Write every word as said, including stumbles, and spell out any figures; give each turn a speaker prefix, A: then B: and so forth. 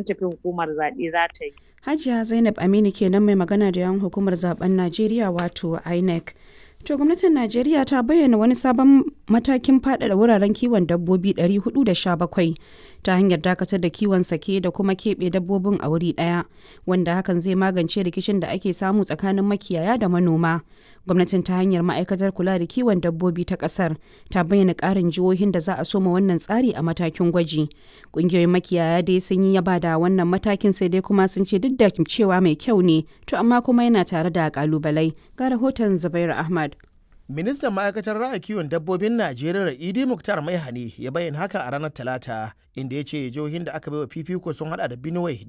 A: Tafi hukumar zaɓe za ta yi.
B: Hajiya Zainab Aminu kenan mai magana da yawan hukumar zaben Najeriya wato INEC. To, gwamnatin Najeriya ta bayyana wani sabon matakin faɗaɗa wuraren kiwon dabbobi ɗari huɗu da sha bakwai ta hanyar dakatar da kiwon sake da kuma keɓe dabbobin a wuri ɗaya, wanda hakan zai magance rikicin da ake samu tsakanin makiyaya da manoma. Gwamnatin, ta hanyar ma'aikatar kula da kiwon dabbobi ta ƙasar, ta bayyana ƙarin jihohin da za a soma wannan tsari a matakin gwaji. Ƙungiyoyin makiyaya dai sun yi yaba da wannan matakin, sai dai kuma sun ce duk da cewa mai kyau ne, to amma kuma yana tare da ƙalubalai. Ga rahoton Zubairu Ahmad.
C: Ministan ma'aikatar raya kiwon dabbobin Najeriya, Idi Muktar Maihani, ya bayyana haka a ranar Talata, inda ya ce jihohin da aka baiwa fifiko sun hada da Benue da